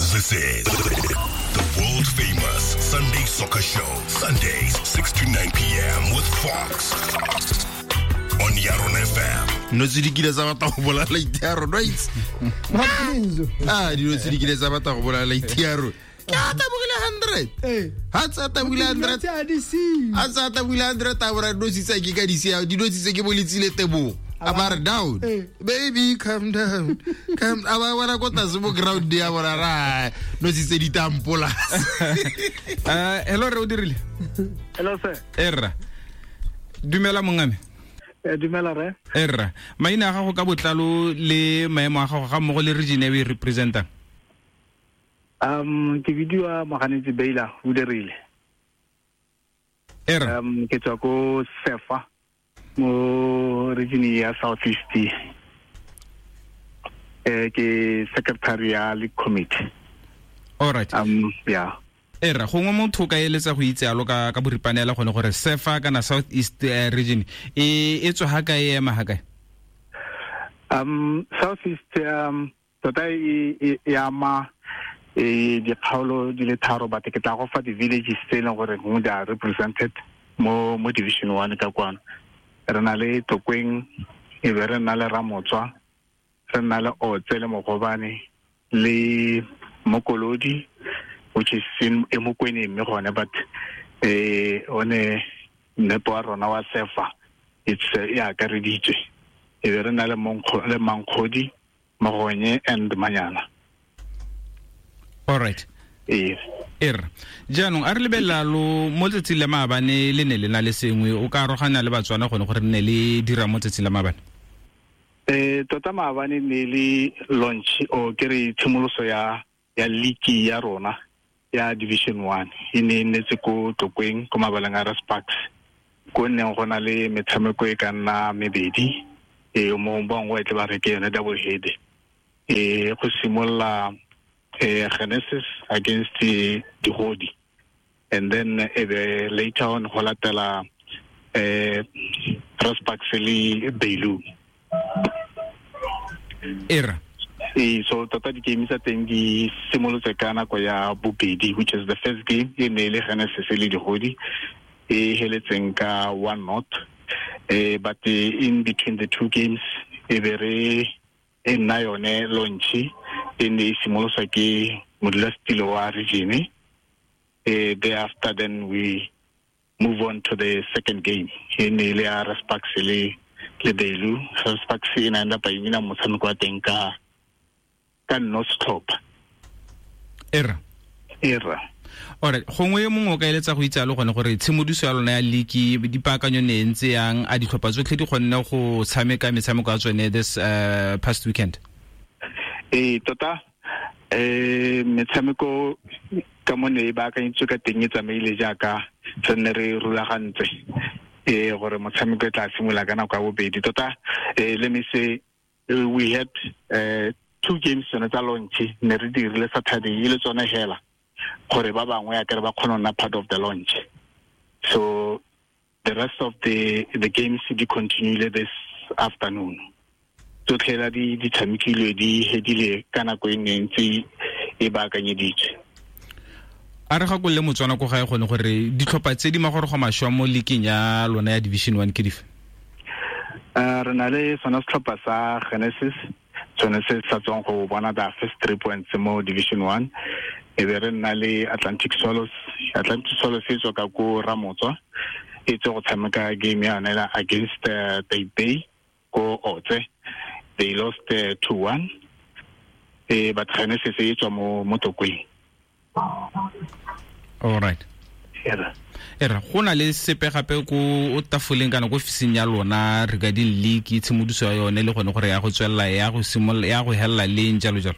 This is the world famous Sunday Soccer Show. Sundays, 6 to 9 p.m. with Fox on Yaron FM. No tse di kile tsa batla go bolaya laiti ya rona itse. Ah, dilo tse di kile tsa batla go bolaya laiti ya rona. Ke a tabogile 100. Ha tsa tabogile 100. A tsa tabogile 100 a bora dilo tse ke ka di sia, dilo tse ke boletsile tebogo. A ba re down. Baby, calm down. Calm a ba bona ko tlase mo ground ya bona ra no tse di tampola. Hello re o dirile. Hello sir. Erra. Dumela mongame. Dumela re. Erra. Maina a gago ka botlalo le maemo a gago ga mmogo le region e o e representang. Ke bidiwa Moganetsi Beila o dirile. Erra. Ke tswa ko Sefa mo region ya South East. Ke secretary ya league committee. All right. Yeah. Era gongwe motho ka eletsa go itse alo ka boripanela gone gore Sefa kana South East region e tswa ha kae ema ha kae? South East tota e ama dikgaolo di le tharo, but ke tla go fa di-villages tse e leng gore gongwe di are represented mo division 1 ka kwano. Re na le Tokweng, e be re na le Ramotswa, re na le Otse le Mogobane le Mokolodi, which is in Emokweni mme gone, but one nepo wa rona wa Sefa it's e akareditswe. E be re na le Mankgodi, Mogonye and Manyana. All right. Er jaanong a re lebelela lo mo letsatsing la maabane le ne le na le sengwe o ka arogana le Batswana gone gore ne le dira mo tsatsing la maabane? Tota maabane ne le launch o ke re tshimoloso ya league ya rona ya division 1 e ne e nnetse ko Tlokweng ko mabaleng a Rasparks, ko nneng go na le metshameko e ka nna mebedi, mo bangwe tle ba re ke yone double head. Go simolola Genesis against the Digodi, and then later on go latela Rasparks le Beilu. Era. So tota di-game tsa teng di simolotse ka nako ya bobedi, which is the first game e ne le Genesis le Digodi, e heletseng ka 1-0. But in between the two games e be re e nna yone launch e ne e simoloswa ke modulasetilo wa region. Thereafter then we move on to the second game e ne le ya Rasparks le Beilu. Rasparks e ne enda pa ina motshameko wa teng ka no setlhopha. Era. Alright, gongwe mongwe o ka eletsa go itse alo gone gore tshimodiso ya lona ya league dipaakanyo ne ntse yang, a ditlhopha tsotlhe di kgonne go tshameka metshameko ya tsone this past weekend? Tota metshameko ka mo ne e baakanyetswe ka teng e tsamaile jaaka re ne re rulagantse gore motshameko e tla simolola ka nako ya bobedi. Tota let me say we had two games tsone tsa launch ne re dirile Saturday e le tsone hela gore ba bangwe ya kere ba kgone nna part of the launch. So the rest of the games di continue this afternoon. Tsotlhe di tshamekilwe di hedile ka nako e ne ntse e baakanyeditswe. A re gakolole Motswana ko gae gone gore ditlhopha tse di magorogo mašwa mo leaking ya lona ya division 1 ke dife? Re na le sona setlhopha sa Genesis, sone se sa tswang go bona the first 3 points mo division 1. E be re nna le Atlantic Swallows. Atlantic Swallows e tswa ka ko Ramotswa, e tswe go tshameka game ya yone against Taipei ko Otse. They lost 2-1. But Genesis e tswa mo Tokweng. All right. Era go na le sepe gape ko o tafoleng kana ko ofising ya lona regarding league tshimodiso ya yone le gone gore ya go tswelela ya go simolola ya go hella leng jalo jalo?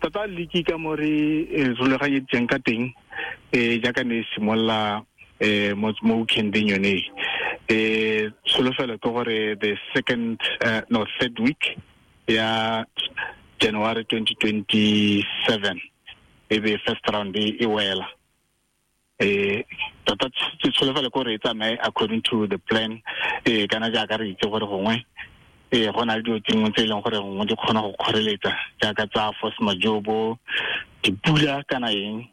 Tota league ka mo re rulaganyeditseng ka teng jaaka ne e simolola mo weekendeng yone, tsholofelo ke gore the second no third week ya January 2027 e be first round e wela. Tota tsholofelo ke gore e tsamaye according to the plan, kana jaaka re itse gore gongwe Go na le dilo tse dingwe tse e leng gore gongwe di kgona go kgoreletsa jaaka tsa force majeure, dipula kana eng,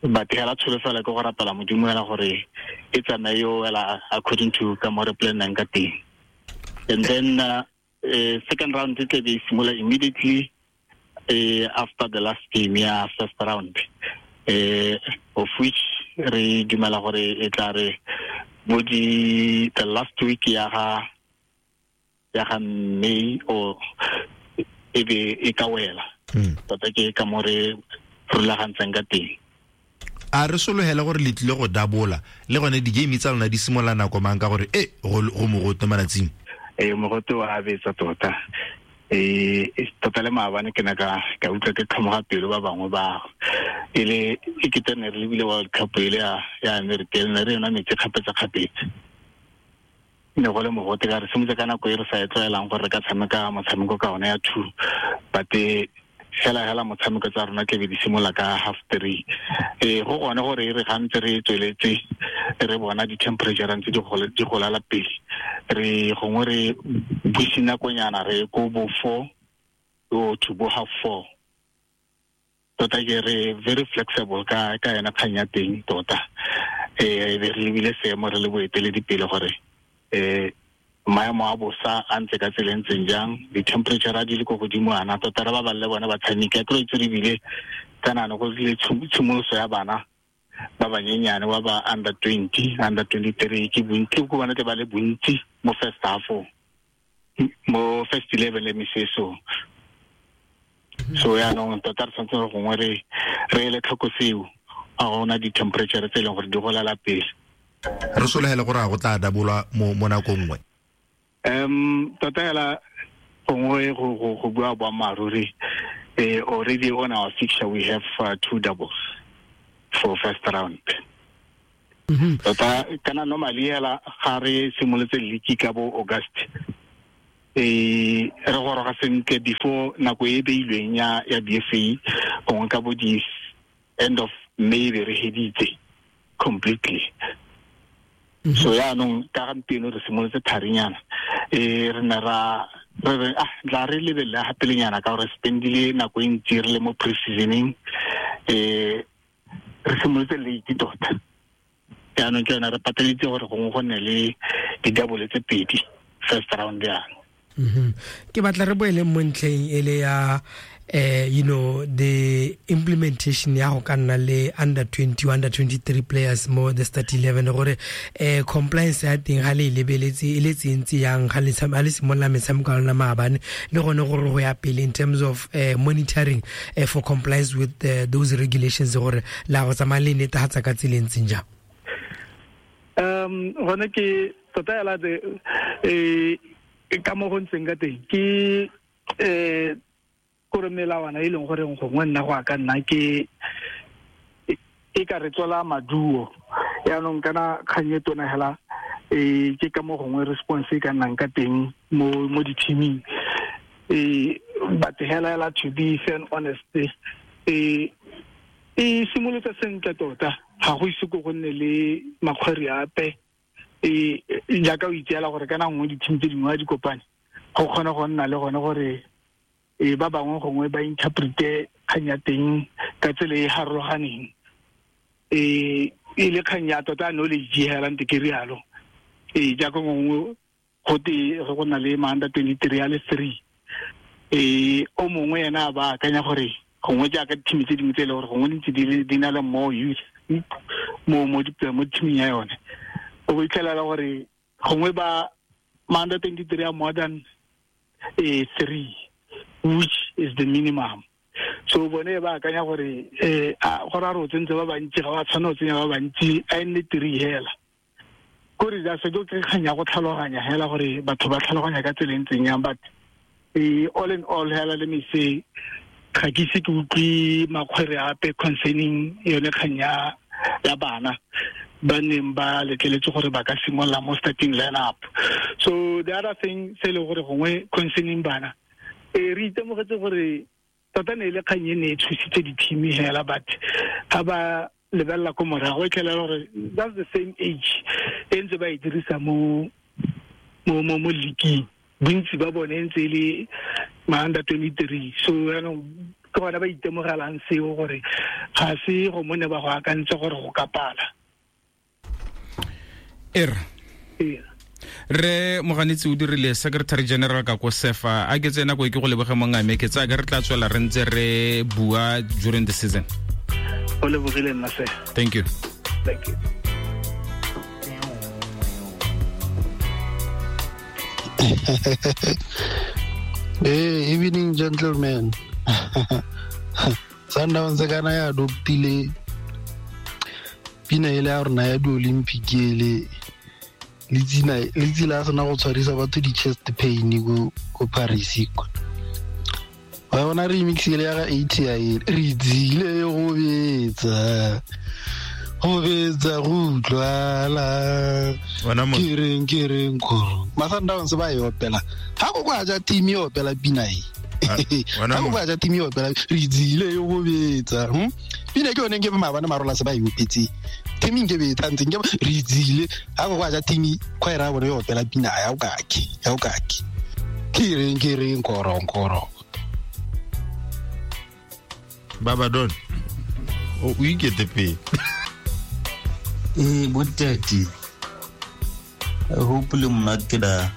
but hela tsholofelo ke go rapela Modimo hela gore e tsamaye yo wela according to ka mo re plannang ka teng. And then second round e tle be e simolola immediately after the last game ya first round, of which re dumela gore e tla re bo di the last week ya ga May or e be e ka wela. Tota ke ka mo re rulagantseng ka teng. A re sologele gore le tlile go dabola le gone di-game tsa lona di simolola nako mang, ka gore e go mogote malatsing? Ee, mogote wa betsa tota. Tota le maabane ke ne ka utlwa ke tlhomoga pelo, ba bangwe ba e le e kete ne re lebile World Cup e le ya America, ne re yona metsi kgapetsa-kgapetsa, ne go le mogote ka re simotse ka nako e re sa e tlwaelang gore re ka tshameka motshameko ka one ya 2, but hela hela motshameko tsa rona tlebe di simolola ka 3:30. Go gone gore e re gantse re tsweletse re bona di-temperature ntse di golala pele, re gongwe re buise nakonyana re ko bo 4 o to bo 4:30. Tota ke re very flexible ka yona kgang ya teng tota. Be re lebile seemo re le boeteledipele gore maemo a bosa a ntse ka tsela e ntseng jang, di-temperature a di le ko godimo ana, tota re ba balle bone batshameki. A kry itse re bile kana go le tshimoloso ya bana ba banyenyane ba ba under 20, under 23, ke bontsi ko bona tle ba le bontsi mo first half, mo first 11, let me say so. So yaanong tota re tshwanetse gore gongwe re ele tlhoko seo, a gona di-temperature tse e leng gore di golela pele. Re sologele gore a go tla dabolwa mo nakong nngwe? Tota hela gongwe go bua boammaaruri, already on our fixture we have two doubles for first round. Tota kana normally hela ga re simolotse league ka bo August, re goroga sentle before nako e beilweng ya BFA, gongwe ka bo di end of May be re heditse completely. So yaanong ka gampieno re simolotse tharinyana, re ne ra re ah tla re lebelele gapelenyana ka gore spendile nako e ntsi re le mo pre-seasoning, re simolotse late tota. Jaanong ke yone re pateletse gore gongwe go nne le di-double tse pedi first round yana. Ke batla re boele mo ntlheng e le ya the implementation ya go ka nna le under 20, under 23 players mo the start 11, gore compliance ya teng ga le e lebeletse e le tsentse yang ga le simolola metshameko ya lona maabane, le gone gore go ya pele in terms of monitoring for compliance with those regulations, gore la go tsamaya le netefatsa ka tsela e ntseng jang? Gone ke tota hela ka mo go ntseng ka teng ke gore melawana e leng gore gongwe nna go a ka nna ke e ka re tswela maduo. Yaanong kana kgang e tona hela, ke ka mo gongwe response e ka nnang ka teng mo di-teaming, but hela hela, to be fair and honest, e simolotse sentle tota, ga go ise ko go nne le makgwere ape. Jaaka o itseela gore kana nngwe di-team tse dingwe a di kopane, go kgone go nna le gone gore ba bangwe gongwe ba interprete kgang ya teng ka tsela e harologaneng, e le kgang ya tota knowledge hela nte ke rialo. Jaaka gongwe go te go na le ma under 23 a le 3, o mongwe ena a ba akanya gore gongwe jaaka di-team tse dingwe tse e le gore gongwe di ntse di na le more youth mo teaming ya yone, o itlhelela gore gongwe ba ma under 23 a more than 3, which is the minimum. So bone ba akanya gore gore a re o tsentse ba bantsi, ga wa tshwana o tsenya ba bantsi, a e nne 3 hela. Kore ja se ke kgang ya go tlhaloganya hela gore batho ba tlhaloganya ka tsela e ntseng yang, but all in all hela, let me say, ga ke ise ke utlwe makgwere ape concerning yone kgang ya bana ba neng ba letleletse gore ba ka simolola mo starting line-up. So the other thing se e leng gore gongwe concerning bana, re itemogetse gore tota ne e le kgang e ne e tshositse di-team hela, but ga ba lebelela ko morago e tlhelela gore that's the same age e ntse ba e dirisa mo league. Bontsi ba bone ntse le ma under 23. So yaanong ke gona ba itemogelang seo gore ga se go mone ba go akantse gore go ka pala. Re Moganetsi o dirile Secretary General ka ko SEFA. A ke tsena ko ke go leboge mongame, ke tsaya ke re tla tswela re ntse re bua during the season. O lebogile nna se. Thank you. Thank you. Hey, evening gentlemen. Sundowns kana ya adoptile pina ele ya rona ya di-Olympic ele le tsila sena go tshwarisa batho di-chest pain ko Paris kwa. Wa bona remix ele ya ga ATI re tsile go betsa go utlwala ke reng kgoro. Masundowns ba e opela ga go kwa ja team e opela pina e. Ga go kwa ja team e opela re tsile go betsa. Pina ke yone ke maabane marola se ba e opetse. Team nke be tantse nke re tsile ga go kwa ja team choir bone e opela pina ya o kake. Ke reng kgoro. Baba Don o ikete pele. Botati. I hope le monate da.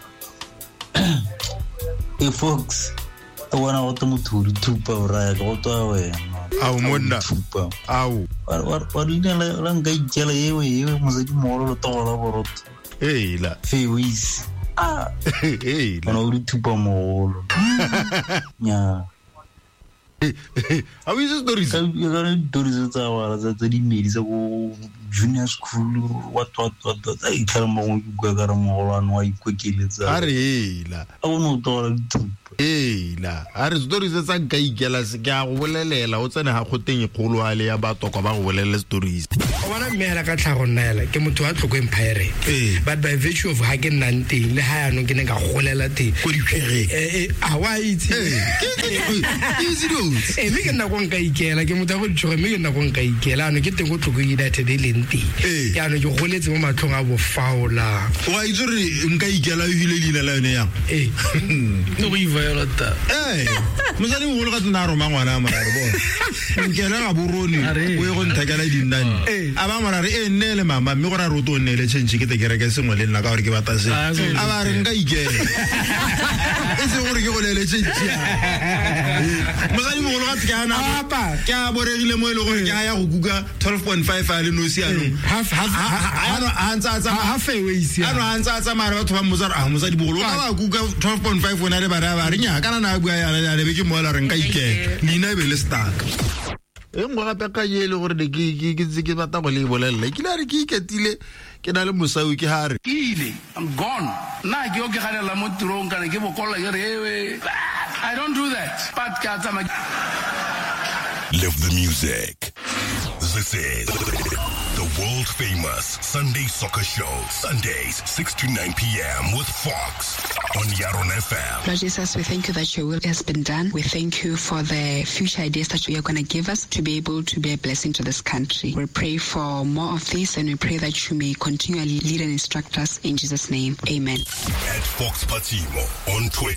Fox, o bona go motho o thupa o raya go tswa wena. Ao monna. Ao. Wa leina la nka ikela ewe mosadi mogolo le togola borotho. Eila. Fewis. Ah. Eila. Ona o di thupa mogolo. Nya. A o itse stories? Ka stories tsa wala tsa dimedi tsa go junior school what tsa itlhela mo go bua ka re mogolwane wa ikokeletsa. A re ela. A o no tola dithupa. Ela. A re stories tsa nka ikela se ke a go bolelela o tsene ga goteng e kgolo a le ya batho kwa ba go bolelele stories. O bona mme hela ka tlhago nna hela ke motho wa Tlokwe Pirate. But by virtue of ha ke nnang teng le ha yanong ke ne ka golela teng. Ko dikgwere. A wa itse. Ke itse mme ke nna ko nka ikela ke motho wa go ditshoge mme ke nna ko nka ikela ano ke teng ko Tlokwe United e leng teng. Ke ano ke goletse mo matlhong a bofaola. Wa itse re nka ikela o hile leina la yone yang? No go iviolata. Mosadi mogolo ka tsena a roma ngwana a morare bona. Nkela ga borone o ye go nthekela dinnane. A ba morare e nne le mama mme gore a re o to nne le change ke te kereke sengwe le nna ka gore ke batla se. A ba re nka ikela. E se gore ke go lele change. Mosadi mogolo ga ke ana ke a boregile mo e le gore ke a ya go kuka 12.5 a le nosi anong. Ano a ntse a tsamaya batho ba mmotsa a mosadi bogolo ka ba kuka 12.5 ona le bana ba re nya kana na bua yana le be ke moela re nka ikela leina e be le stuck. E nngwe gape ka e le gore ne ke ntse ke batla go le bolelela ke le re ke iketile ke na le mosau ke ha re ile I'm gone nna ke yo ke ganela mo tirong kana ke bokolla ke re ewe I don't do that but ka tsamaya. Live the music. This is the world famous Sunday Soccer Show. Sundays, 6 to 9 p.m. with Fox on Yaron FM. Lord Jesus, we thank you that your will has been done. We thank you for the future ideas that you are going to give us to be able to be a blessing to this country. We pray for more of this, and we pray that you may continually lead and instruct us in Jesus' name. Amen. At Fox Patimo on Twitter.